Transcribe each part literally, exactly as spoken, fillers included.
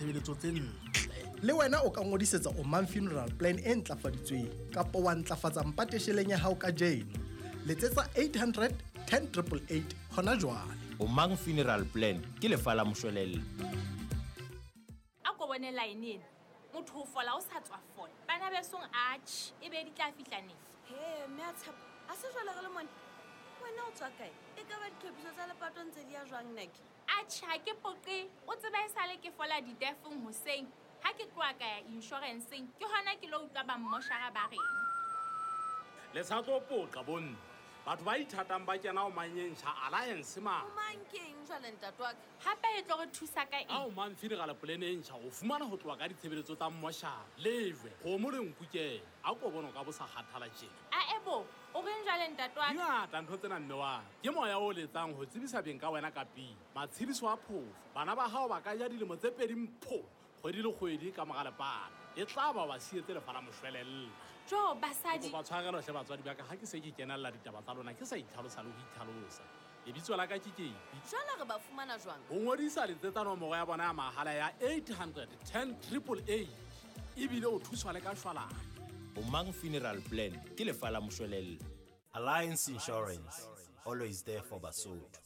ditshebeletso tse ntle. Le wena o ka ngodisetsa Omang Funeral Plan e ntlafaditsweng kapa wa ntlafatsa mpatesheleng ya hao kajeno. Letsetsa eight hundred ten triple eight hona jwale. Omang Funeral Plan ke lefa la moshwelella. A ko bone line ena. Motho o fola o sa tswa fola. Bana besong atjhe, e be di tla fihla neng? He, mme a tshepo, a se jwale re le mone. Wena o tswa kae? E ka ba ditlhophiso tsa lepato ntse di ya jwang nake? Atjhe, ha ke poqe. O tseba e sale ke fola ditefong hoseng. Ha ke tloha ka ya insurance-eng, ke hona ke lo utlwa ba mmoshara ba reng. Le sa tlo poqa bonne. Batho ba ithatang ba kena ho manyentjha Alliance ma. O mang keng jwale ntate wa ka? Hape e tlo re thusa ka eng? Ha o mang funeral plan e ntjha o fumana ho tloha ka ditshebeletso tsa mmoshara. Lejwe, kgomo le nku ke. A ko bona ka bo sa kgathala tjena. A ebo, o reng jwale ntate wa ka? Ngata ntho tsena mme wa. Ke moya o letsang ho tsebisa beng ka wena ka pele. Matshediso a phofo. Bana ba hao ba ka ja dilemo tse pedi mpho. Kgwedi le kgwedi ka mora lepato. E tla ba ba sietse lefa la moshwelella. Jo, basadi. Kopa tshwarelo hle batswadi ba ka ha ke se ke kenella ditaba tsa lona ke sa itlhalosa le ho itlhalosa. Lebitso la ka ke Kepi. Jwale re ba fumana jwang? Ho ngodisa letsetsa nomoro ya bona ya mahala ya eight hundred ten triple eight. Ebile o thuswa le ka shwalane. Omang Funeral Plan ke lefa la moshwelella. Alliance Insurance, always there for Basotho.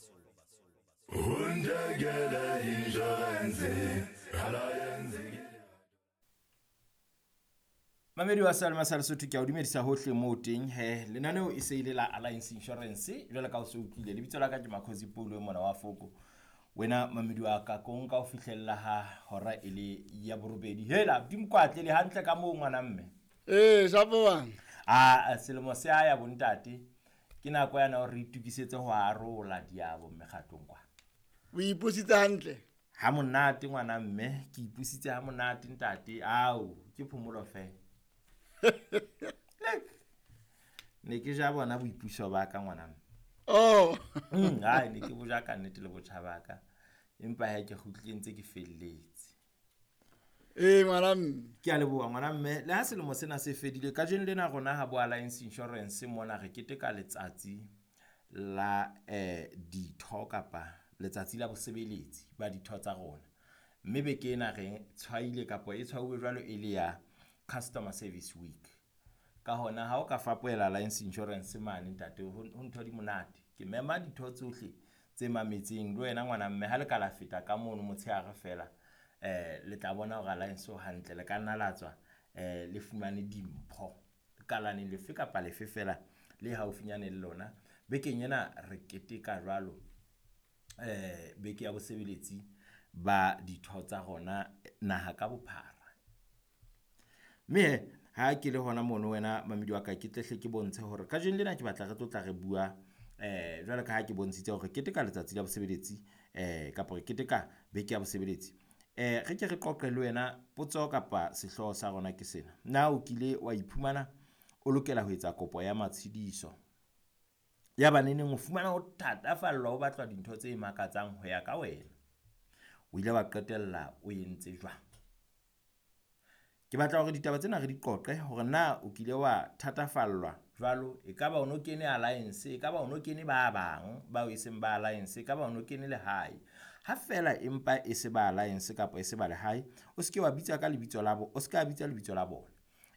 Mamedi wa Salma sa Lesotho ke a o dumedisa hohle moo teng he lenaneo e se ile la Alliance Insurance jwale ka o se utlwile lebitso la ka ke Makhosi Paulo mona wa Foko wena mamedi wa ka ko nka o fihlella ha hora e le ya borobedi hela dimkwatle le hantle ka moo ngwana mme eh shapo bang a selemo se a ya bontate ke nako yana hore re itukisetse ho arola diabo mekgatlong kwa. O ipusitse hantle ha monate ngwana mme ke ipusitse ha monate ntate ao ke phomolo fela. Ne ke ja bona boipuso ba ka ngwana mme. Oh mm ai ne ke boja ka nnete le botjha ba ka empa ha ke kgutlile ntse ke felletse. Eh ngwana mme ke a leboha ngwana mme le ha selemo sena se fedile kajeno lena rona ha bo Alliance Insurance mona re keteka letsatsi la eh ditho kapa letsatsi la bosebeletsi ba ditho tsa rona mme beke ena re tshwaile kapa e tshwauwe jwalo e le ya Customer Service Week. Ka hona ha o ka fapohela Alliance Insurance mane ntate ho ntho di monate ke mema ditho tsohle tse mametseng le wena ngwana mme ha le ka la feta ka mono motshehare fela eh le tla bona hore Alliance o hantle le ka nna la tswa eh le fumane dimpho kalaneng lefe kapa lefe fela le haufinyane le lona. Bekeng ena re keteka jwalo eh beke ya bosebeletsi ba ditho tsa rona naha ka bophara. Mme ha ke le hona mono wena mamedi wa ka ke tlehle ke bontshe hore kajeno lena ke batla re tlotla re bua eh jwalo ka ha ke bontshitse hore keteka letsatsi la bosebeletsi eh kapa re keteka beke ya bosebeletsi. Eh re ke re qoqe le wena potso kapa sehlooho sa rona ke sena. Na o kile wa iphumana o lokela ho etsa kopo ya matshediso ya baneneng o fumana o thatafallwa o batlwa dintho tse makatsang ho ya ka wena o ile wa qetella o entse jwang? Ke batla hore ditaba tsena re di qoqe hore na o kile wa thatafallwa jwalo e ka ba o no kene Alliance e ka ba o no kene ba bang bao e seng ba Alliance e ka ba o no kene lehae ha fela empa e se ba Alliance kapa e se ba lehae o se ke wa bitsa ka lebitso la bo o se ka bitsa lebitso la bona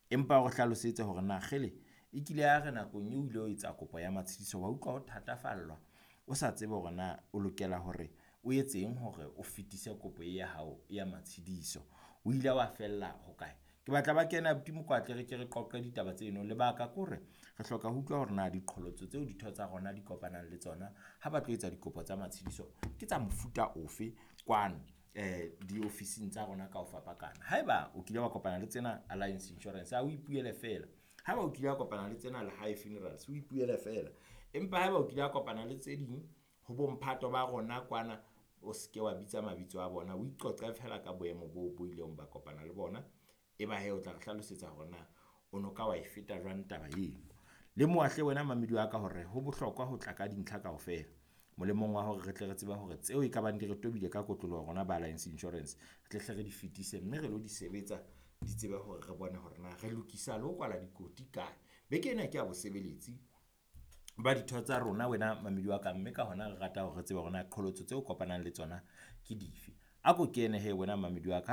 empa o hlalosetse hore na kgele e kile ya re nakong eo ile o etsa kopo ya matshediso wa utlwa o thatafallwa o sa tsebe hore na o lokela hore o etseng hore o fetise kopo ya hao ya matshediso o ile wa fella hokae. Ke batla ba kena abuti Mokwatle re ke re qoqe ditaba tseno lebaka ke hore re hloka ho utlwa hore na diqholotso tseo ditho tsa rona di kopanang le tsona ha ba tlo etsa dikopo tsa matshediso ke tsa mofuta ofe kwano eh diofising tsa rona ka ho fapakana. Haeba o kile wa kopana le tsena Alliance Insurance ha o ipuele fela, haeba o kile wa kopana le tsena Lehae Funerals o ipuele fela, empa haeba o kile wa kopana le tse ding ho bomphato ba rona kwana o seke wa bitsa mabitso a bona o iqoqe fela ka boemo bo bo ileng ba kopana le bona e ba he o tla re hlalosetsa hore na o no ka wa e feta jwang taba eno. Le moahle wena mamedi wa ka hore ho bohlokwa ho tla ka dintlha kaofela molemong wa hore re tle re tsebe hore tseo e ka bang di re tobile ka kotloloho rona ba Alliance Insurance re tle hle re di fetise mme re lo di sebetsa di tsebe hore re bone hore na re lokisa le ho kwala dikoti kae. Beke ena ke ya bosebeletsi ba ditho tsa rona wena mamedi wa ka mme ka hona re rata hore re tsebe hore na qholotso tseo kopanang le tsona ke dife. A ko kene he wena mamedi wa ka.